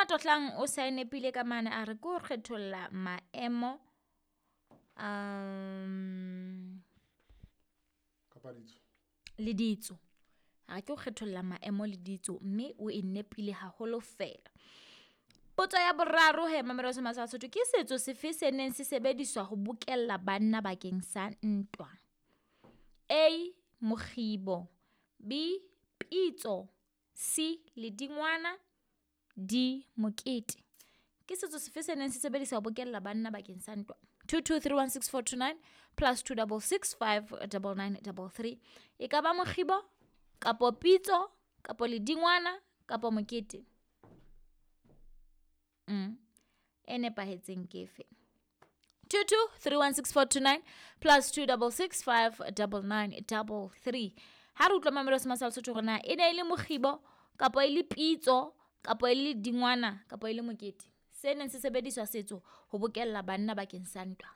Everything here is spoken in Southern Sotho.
Matohlang o sa e nepile ka mane, a re ke ho kgetholla maemo Kapa ditso. Le ditso. A re ke ho kgetholla maemo le ditso, mme o e nepile haholo fela. Potso ya boraro he, mamelo se sa Sotho, ke setso sefe se neng se sebediswa ho bokella banna bakeng sa ntwa? A, mokgibo. B, pitso. C, ledingwana. D, mokete. Ke setso sefe se neng se sebediswa ho bokella banna bakeng sa ntwa? 22316429 plus 26659933. E ka ba mokgibo kapo pitso kapo ledingwana kapo mokete? E nepahetseng ke efe? 22316429 plus 26659933. Ha re utlwa mamelo se masala Sotho hore na e ne e le mokgibo kapo e le pitso kapo e le dingwana kapo e le mokete se neng se sebediswa setso ho bokella banna bakeng sa ntwa.